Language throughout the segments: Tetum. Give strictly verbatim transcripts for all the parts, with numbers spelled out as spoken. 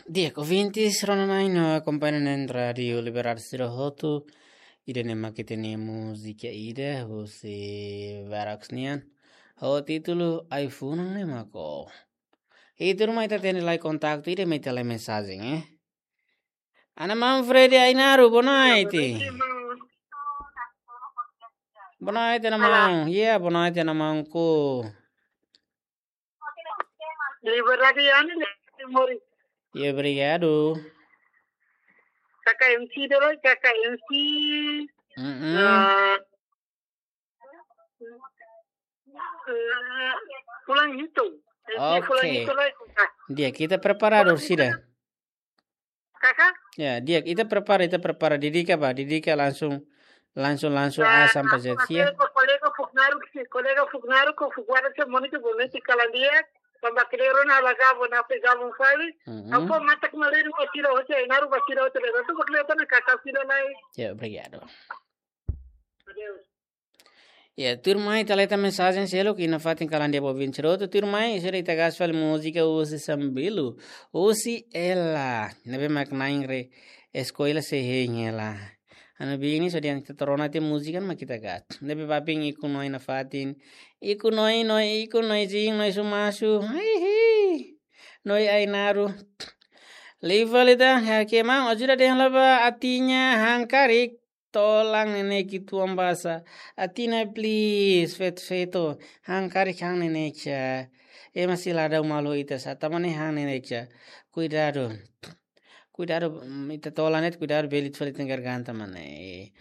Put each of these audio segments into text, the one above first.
Di'ak, ouvintes rona-na'in no akompaña na'in Rádiu Liberdade sira hotu, ida-ne'e mak ita-nia múzika ida husi Verax nian, ho títulu Ai-funan ne'e mak ó. I tuirmai ita hatene lai kontaktu ida, mai ita lai mensajen, eh. Ana Manfred Ainaru, boa noite. Boa noite, Ana Maun. Yeah, boa noite, Ana Maun ku. Liberdade, Ana, né? Mori. Yeah, obrigado. K K M C dulu, K K M C. Mm-mm. Ah, ah, fulan hitu. MC fulan Oke. hitu lah. Di'ak, ita preparadu, sira. Kakak? Ya, di'ak, ita prepara, ita prepara. Didika ba, didika langsung, langsung, langsung A Nah, sampai aku Z, ya. Kolega, kolega fuknaru, kolega fuknaru, ko fuknaru se monitu boniti kalandia, tambah keliru na ala gabo, na pe gabo fali. Mm-mm. Apa matak malirin ba sira hotu, Ainaru ba sira hotu, tu bakle tana kakak sira lai. Ya, obrigado. Adeus. Ya, tuirmai ita lai hetan mensajen seluk iha nafatin kalandia ba ouvinte sira hotu, tuirmai sira ita gas fali múzika husi Sambilu, husi Ela. Ne'ebé mak na'in re eskola sei hein hela. Ha'u-nia biin ne'e só di'ak ita rona tiha múzika mak ita gas. Ne'ebé babin ikun no iha nafatin. Ikun no, no, ikun no, jin no, sumasu. Hihi. No Ainaru. Liu fali tan, ya, ke man, ajuda dehan la ba atin nia han karik. Tolan ne'e ki'ik tuan basa. Atin nia please, feto-feto. Han karik han ne'e ne'e ka. Ema sei la dau malu ita sá, tanba ne'e han ne'e ne'e ka. Kuidadu. Kuidadu, mm, ita tolan ne'e kuidadu bele ita fali ita-nia garganta mane.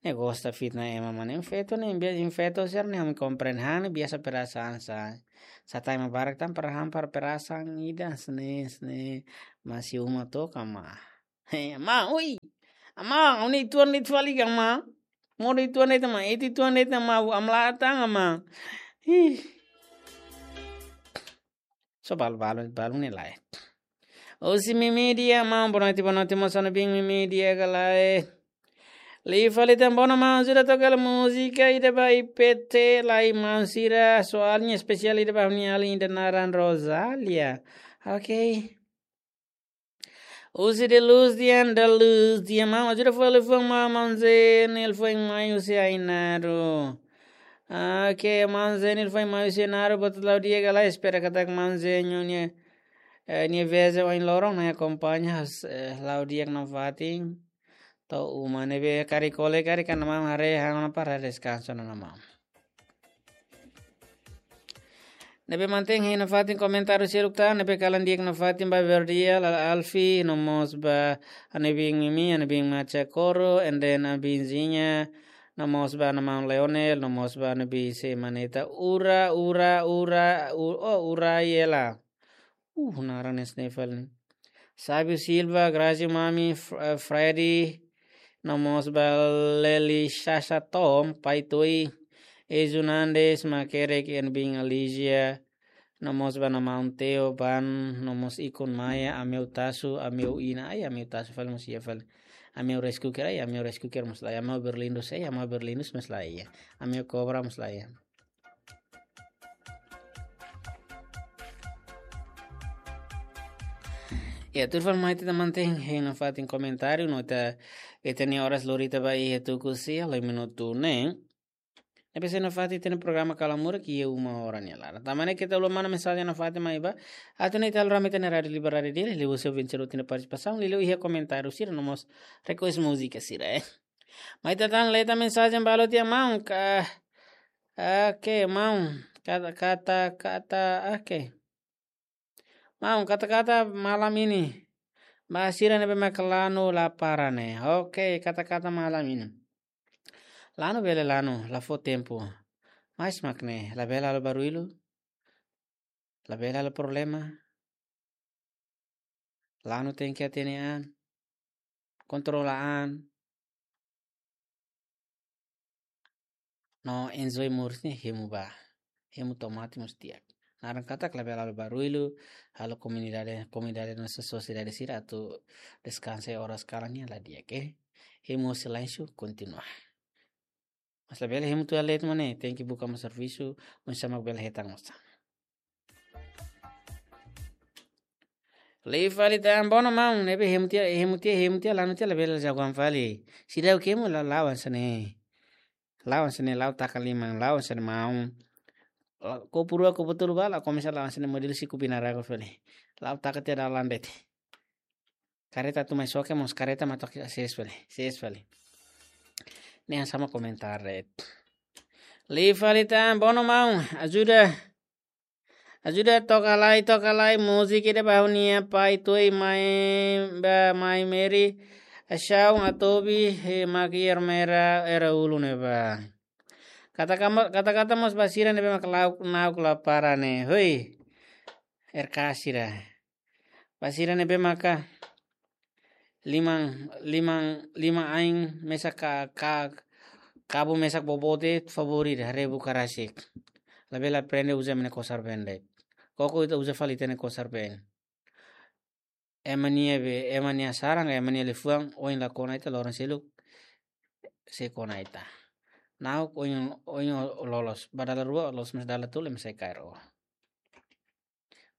Ne'e gosta fitna ema mane. Feto ne'e, bia-, feto sira ne'e ami komprende han ne'e biasa perasaan sá. Sá ema barak tan para han para perasaan ida sne, sne. Masi uma toka ma. He, ama, ui. Ama, ha'u-nia ituan de'it fali ka ama. Modo ituan de'it ama, iti ituan de'it ama, amlatan ama. Ih. Só balu, balu, balu ne'e lae. Husi Mimi Dia, ama, boa noite, boa noite, mosa no bin Mimi Dia ka lae. Liu fali tan, boa noite, ama, ajuda toka hela múzika ida ba I P T, lai maun sira, soalnya espesiál ida ba ha'u-nia alin ida naran Rosalia. Oke. Husi De Luz Dian, De Luz Dian, maun, ajuda fali fuan maun, maun Zenil, fuan mai husi Ainaru. Oke, maun Zenil, fuan mai husi Ainaru, buat la'o di'ak ka lae, espera katak maun Zenil nia, eh, nia veze ohin loron, nia akompaña, eh, la'o di'ak nafatin. To'o uma ne'ebé karik kole, karik kan maun haree, ha'u-nia para deskansa ona maun. Ne'ebé mantein hein nafatin komentáriu seluk tan, ne'ebé kalan di'ak nafatin ba Verdia, Lala Alfi, no mós ba ha'u-nia biin Mimi, ha'u-nia biin Macha Koro, and then ha'u-nia biin Zinha, no mós ba ha'u-nia maun Leonel, no mós ba ha'u-nia biin Semaneta, Ura, Ura, Ura, U-, oh, Ura Yela. Uh, naran ne'e sne fali. Sábio Silva, Grazi Mami, F-, eh, Freddy, no mós ba Leli Shasha Tom, Pai Toi, Ezu Nandes, Makerek, ha'u-nia biin Alisia, no mós ba ha'u-nia maun Teo, Ban, no mós ikun Maia, Ameu Tasu, Ameu Ina, ai, Ameu Tasu fali mós iha fali. Ameu Rice Cooker, ai, Ameu Rice Cooker mós lae, Ameu Berlindus, ai, Ameu Berlindus mós lae, Ameu Cobra mós lae. Ya, tuir fali mai ita mantein hein nafatin komentáriu, no ita, ita-nia oras lori ita ba iha tuku sia, lima minutu ne'e. Ne'ebé sei nafatin ita-nia programa Kala Murak iha uma hora nia laran. Tanba ne'e ita uluk manda mensajen nafatin mai ba. Atu nune'e ita halo rame ita-nia Rádiu Liberdade Dili, liuhusi ouvinte sira hotu nia partisipasaun, liuliu iha komentáriu sira no mós request múzika sira, eh. Mai ita tan lee tan mensajen balu tiha maun ka, oke, maun. Kata, kata, kata, oke. Maun, kata-kata malam ini. Ba sira ne'ebé mak lanu la para ne'e. Oke, kata-kata malam ini. Lanu bele lanu, la fó tempu. Mas mak ne'e, labele halo baruilu. Labele halo problema. Lanu tenke hatene an. Kontrola an. No enjoy moris ne'e hemu ba. Hemu to'o mate mós di'ak. Naran katak labele halo baruilu, halo komunidade, komunidade no sosiedade sira atu deskansa oras kalan ne'e la di'ak, eh. Hemu silénsiu kontinua. Mas labele hemu tuir leet mak ne'e, tenke buka mós servisu, oinsá mak bele hetan mós. Liu fali tan, bono maun, ne'ebé hemu tiha, hemu tiha, hemu tiha, lanu tiha, labele jagoan fali. Seidauk hemu, la, la'o hanesan ne'e. La'o hanesan ne'e, la'o taka liman, la'o hanesan ne'e maun. La, kopu rua, kopu tolu ba, la komesa la'o hanesan ne'e modelu siku binarago fali. La'o taka tiha dalan de'it. Kareta atu mai xoke mós kareta mak to'o hanesan ne'e fali, hanesan ne'e fali. Ne'e hanesan mak komentáriu de'it. Liu fali tan, bono maun, ajuda. Ajuda toka lai, toka lai, múzika ida ba ha'u-nia pai tuir mai, ba mai Meri, Ashaun Atobi, he mak iha Ermera, Era Ulu ne'ebá. Kata kama-, kata-kata mós ba sira ne'ebé mak la'o, na'ok la para ne'e. Hoi, R K sira. Ba sira ne'ebé maka liman, liman, liman ain mesak ka, ka, kabun mesak boboot de'it, favór ida, haree buka rasik. Labele aprende uza ema nia kosar-been de'it. Koko ita uza fali ita-nia kosar-been. Ema nia be, ema nia saran, ema nia liafuan, ohin la kona ita, loron seluk sei kona ita. Na'ok ohin, ohin loloos, ba dala rua, loloos mais dala tolu, ema sei kaer ó.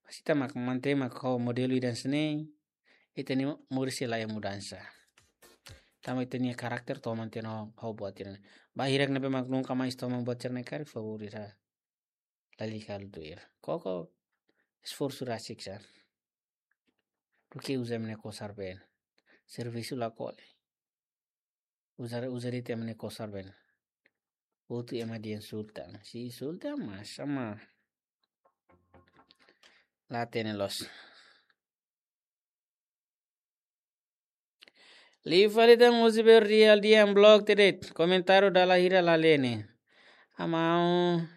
Mas ita mak mantein mak ho modelu ida hanesan ne'e, ita-nia moris sei la iha mudansa. Tanba ita-nia karakter toman tiha ona ho, ho buat sira-ne'e. Ba hirak ne'ebé mak nunka mais toman buat sira-ne'e karik, favór ida. Lalika halo tuir. Koko esforsu rasik sá. Duké uza ema nia kosar-been. Servisu la kole. Uza, uza de'it ema nia kosar-been. Hotu ema dehan sultan. Se sultan mas sama. La hatene loos. Liu fali tan, husi Berdial dehan blok tiha de'it. Komentáriu dala hira la lee ne'e. Amaun,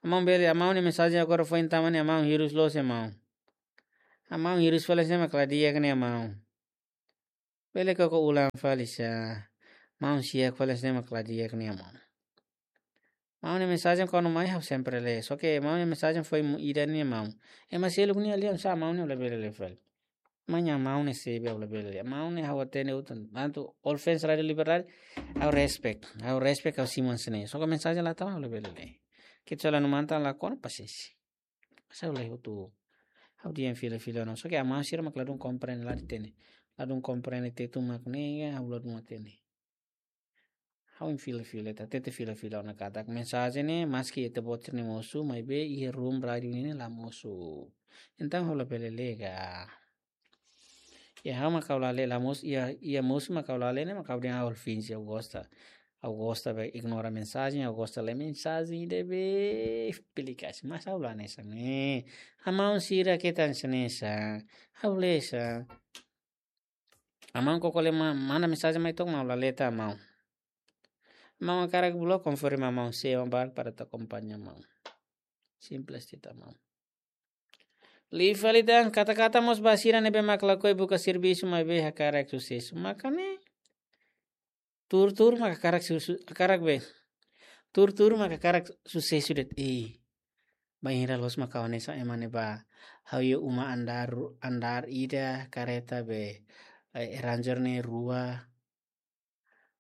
amaun bele, amaun nia mensajen agora foin tama ne'e, amaun hirus loos, amaun. Amaun hirus fali hanesan ne'e mak la di'ak ne'e, amaun. Bele koko ulang fali sá. Maun siak fali hanesan ne'e mak la di'ak ne'e, maun. Maun nia mensajen kuandu mai ha'u sempre lee. Só ke maun nia mensajen foin mu ida ne'e, maun. Ema seluk nia lee, sá maun nia labele lee fali. Maun nia, maun nia sei be labele lee. Maun nia ha'u hatene hotu. Tantu All Fans Rádio Liberdade, ha'u respect. Ha'u respect, ha'u simu hanesan ne'e. Só ke mensajen la tama, ha'u labele lee. Kecuali anu mantan la kona, pasiénsia. Mas ha'u lee hotu. Ha'u dehan fila-fila ona. Só ke amaun sira mak ladún komprende, la hatene. Ladún komprende Tetun mak ne'e, ha'u ladún hatene. Ha'u hein fila-fila, ita tenta fila-fila ona katak mensajen ne'e, maski ita-boot sira-nia mosu, maibé iha room rádiu ne'e la mosu. Entaun ha'u labele lee ka. Ya, ha'u mak ha'u la lee, la mosu, ya, ya mosu mak ha'u la lee ne'e, mak ha'u dehan ha'u finje, ha'u gosta. Ha'u gosta be ignora mensajen, ha'u gosta lee mensajen ida be publikasi. Mas ha'u la hanesan ne'e. Amaun sira ke tan hanesan ne'e sá. Ha'u lee sá. Amaun koko lee ma-, manda mensajen mai to'ok, maun la lee tan, maun. Maun hakarak blok, konfirma maun, sei maun barak para atu akompaña maun. Simples de'it, maun. Liu fali tan, kata-kata mós ba sira ne'ebé mak lakohi buka servisu maibé hakarak susesu. Maka ne'e, tuur-tuur mak hakarak su-, su-, hakarak be. Tuur-tuur mak hakarak susesu de'it. Ih. Bainhira loos mak ha'u hanesan ema ne'ebá. Ha'u iha uma andár, andár ida, kareta be, eh, Ranger ne'e rua,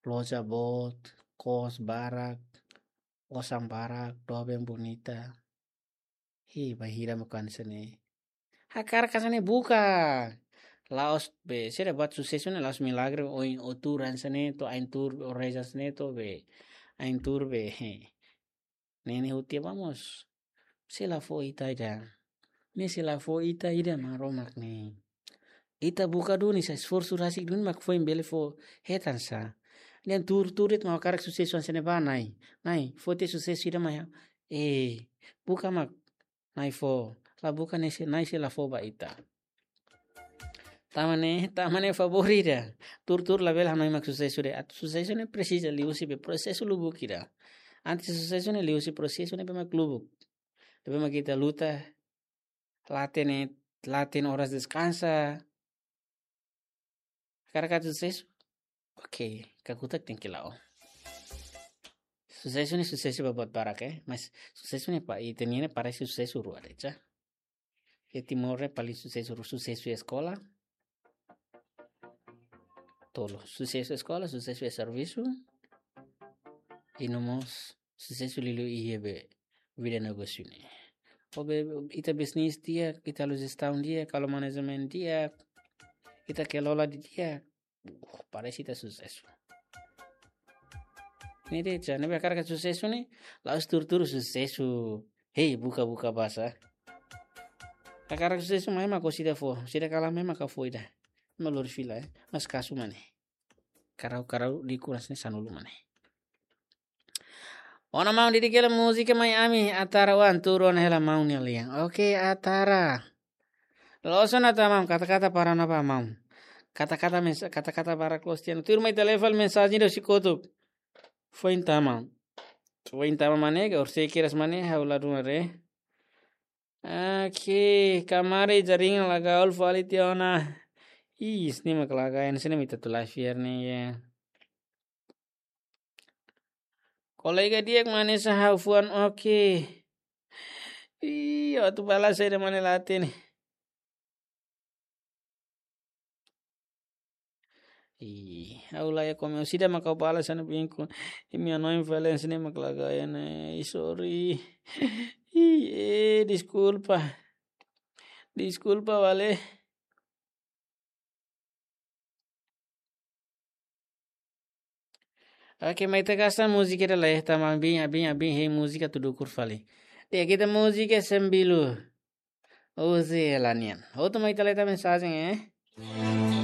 loja boot, kos barak, osan barak, doben bonita. Hi, bainhira mak ha'u hanesan ne'e. Hakarak hanesan ne'e buka. La'ós be, sira buat susesu ne'e la'ós milagre, ohin ó tuur hanesan ne'e, to'o ain tuur, ó reza hanesan ne'e, to'o be, ain tuur be, he. Ne'e ne'e hotu tiha ba mós. Sei la fó ita ida. Ne'e sei la fó ita ida, Maromak ne'e. Ita buka duni sá, esforsu rasik duni mak foin bele fó hetan sá. Ne'e tuur-tuur de'it mak hakarak susesu hanesan ne'e ba Na'i. Na'i, fó ita susesu ida mai ha'u. Eh, buka mak Na'i fó. La buka ne'e sei, Na'i sei la fó ba ita. Tanba ne'e, tanba ne'e favór ida. Tuur-tuur labele hanoin mak susesu de'it. Atu susesu ne'e presiza liuhusi be prosesu lubuk ida. Antes susesu ne'e liuhusi prosesu ne'ebé mak lubuk. Ne'ebé mak ita luta, la hatene, la hatene oras deskansa. Hakarak atu susesu? Oke, kakutak tenke la'o. Susesu ne'e susesu ba buat barak, eh. Mas susesu ne'e ba ita-nian ne'e parese susesu rua de'it sá. Iha Timor ne'e paling susesu, susesu iha eskola. Tolu, susesu eskola, susesu iha servisu. I no mós susesu liuliu iha be vida negósiu ne'e. Ou be, ita bisnis di'ak, ita halo jestaun di'ak, halo manajemen di'ak, ita kelola didi'ak, uh, parese ita susesu. Ne'e de'it, ne'ebé hakarak susesu ne'e, la'ós tuur-tuur susesu. Hei, buka-buka basa. Hakarak susesu mai mak orsida fó, orsida kalan mai mak fó ida. Malur fila, eh. Mas kasu mane. Karau-karau di kuras ne'e sanulu mane. Ona maun, didik hela múzika mai ami, Atara wan, tuur ona hela maun nia lian. Oke, Atara. Loos ona ta maun, kata-kata para ona ba maun. Kata-kata mensa-, kata-kata para Kristian. Tuur mai telefon mensajen do sikotuk. Foin tama. Foin tama mane, ka orsida kedas mane, ha'u la duna re. Oke, kamari jaringan la gaul fali tiha ona. Ih, sini mak laga, sini mak ita tulai fiar ne'e, ya. Kolega di'ak mane sa ha'u fuan, oke. Ih, atu balas saida mane la hatene. Ih, ha'u la iha komen, orsida mak ha'u balas anu binku. Imi anoin valen sini mak laga ya ne. Ih, sorry. Ih, eh, deskulpa. Deskulpa, vale. Oke, mai ita gasta múzika ida lai, tama abin, abin, abin, hei múzika tudu kur fali. Di'ak, ita múzika Sembilu. Oze lanian. Hotu mai ita lai ita mensajen, eh?